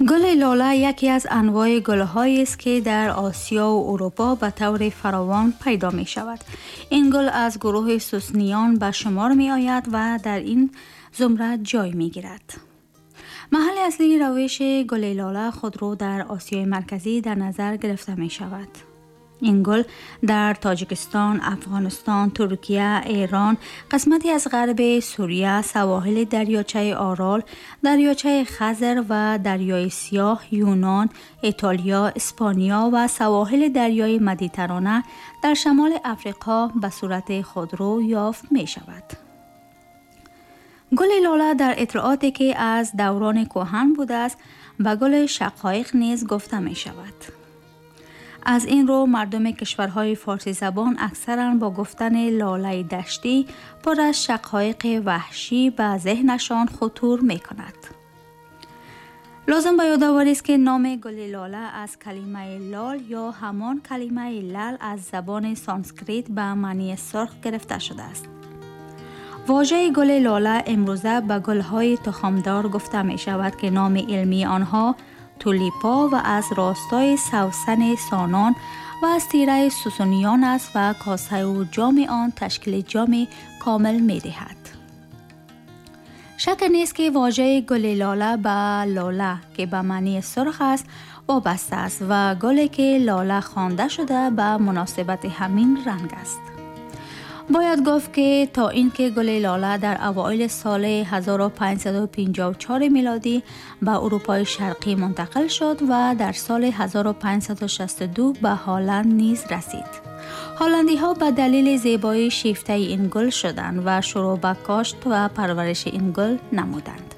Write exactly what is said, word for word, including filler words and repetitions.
Гули лола яке аз анвои гулҳоест, ки дар Осиё ва Урупо ба таври фаровон пайдо мешавад. Ин гул аз гурӯҳи сусниён ба шумор меояд ва дар ин зумра ҷой мегирад. Маҳалли аслии равиши гули лола худро дар Осиёи Марказӣ дар назар гирифта мешавад. Ин гул дар Тоҷикистон, Афғонистон, Туркия, Эрон, қисмате аз ғарби Сурия, савоҳили дарёчаи Орал, дарёчаи Хазар ва дарёи Сиёҳ, Юнон, Итолиё, Испания ва савоҳили дарёи Медитеррана дар шамоли Африқо ба сурати худрӯ ёфт мешавад. Гули лола дар иттилооте, ки аз даврони кӯҳан будааст, ба гули шақоиқ низ гуфта мешавад. Аз ин рӯ мардуми кишварҳои форсизабон аксаран бо гуфтани лолаи даштӣ пур аз шақоиқи ваҳшӣ ба зеҳнашон хутур мекунад. Лозим ба ёдоварист, ки номи гули лола аз калимаи лол ё ҳамон калимаи лал аз забони санскрит ба маънии сурх гирифта шудааст. Вожаи гули лола имрӯза ба гулҳои тухмдор гуфта мешавад, ки номи илмии онҳо тулипа ва аз ростои савсани сонон ва аз тираи сусуниён аст ва косаю ҷоми он ташкили ҷоми комил медиҳад. Шак нест, ки вожаи гули лола ба лола, ки ба маънии сурх аст, вобаста аст ва гуле, ки лола хонда шуда, ба муносибати ҳамин ранг аст. Бояд гуфт, ки то ин ки гули лола дар авоили соли ҳазору панҷсаду панҷоҳу чор милодӣ ба Урупои Шарқӣ мунтақил шуд ва дар соли ҳазору панҷсаду шасту ду ба Ҳолланд низ расид. Ҳолландиҳо ба далели зебоии шифтаи ин гул шуданд ва шурӯъ ба кошт ва парвариши ин гул намуданд.